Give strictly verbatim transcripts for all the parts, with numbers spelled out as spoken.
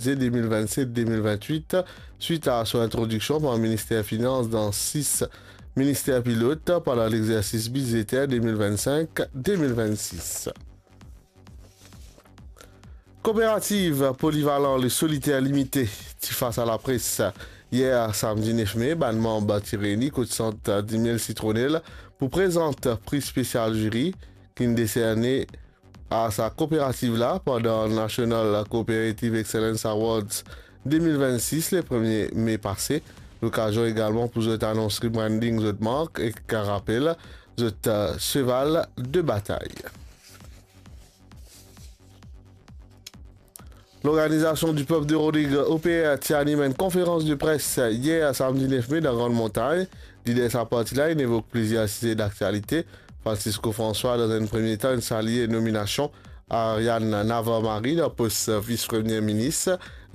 bidze de mil vennset de mil vennwit, swit a so introdiksion par Minister Finans dan sis minister pilot pandan lexersis bidzeter de mil vennsenk de mil vennsis. Koperativ Polivalan Le Solitaire Limité ti fas a lapres yer samdi nef me. Bann manm ti reyni kot sant Dimiel Citronel pou prezant pri spesial ziri ki'nn deserne a sa koperativ la pandan National Cooperative Excellence Awards de mil vennsis, le premie me pase. Lokazion egalman pou zot anons rebranding zot mark ek rapel zot, eh, seval de batay. Lorganizasion di pep de Rodrig, O P R, ti anim enn konferans de pres yer samdi nef me dan Grande Montagne. Lider sa parti la inn evok plizier size daktialite. Francisco François, dan enn premie tan, inn salie nominasion Ariane Navarre-Marie dan pos vis premie minis,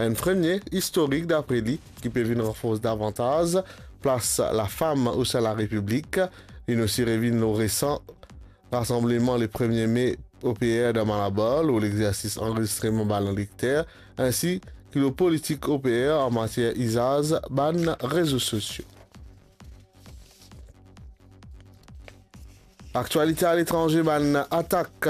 enn premie istorik dapre li, ki pe vinn ranfors davantaz plas lafam osin larepiblik. Linn osi revinn lor resan rasanbleman le premie me O P R dan Malabar, lor lexersis anrezistreman bann elekter, insi ki lor politik O P R an matier izaz bann rezo sosio. Aktialite aletranze, bann atak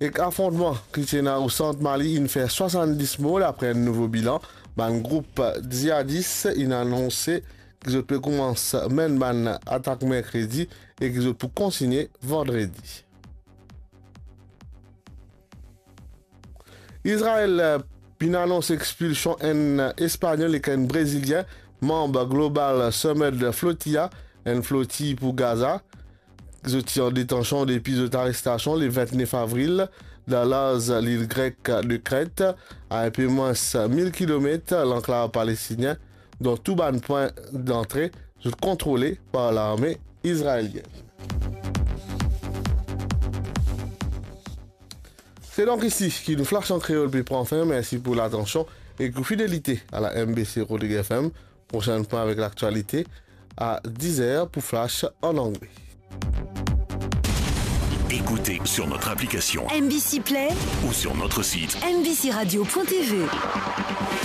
ek afrontman ki ti ena o sant Mali inn fer swasanndis mor, dapre enn nouvo bilan. Bann group ziadis inn anonse ki zot pe koumans menn bann atak merkredi e ki zot pou kontigne vandredi. Izrael, eh, finn anons expilsion enn Espanyol ek enn Brezilien, manb Global Summit Flotilla, enn floti pou Gaza. Zot ti an detansion depi zot arestasion le vintnef avril dan larz lil grek de Kret, a inpe mwins mil kilomet lanklav palestinien, dont tou bann pwin dantre zot kontrole par larme izraelienn. Se donk isi ki nou Flash an Kreol pe pran fin. Mersi pou latansion ek ou fidelite a la M B C Rodrig F M. Prosenn pwin avek laktialite a diz er pou Flash an angle. Écoutez sur notre application M B C Play ou sur notre site M B C radio point T V.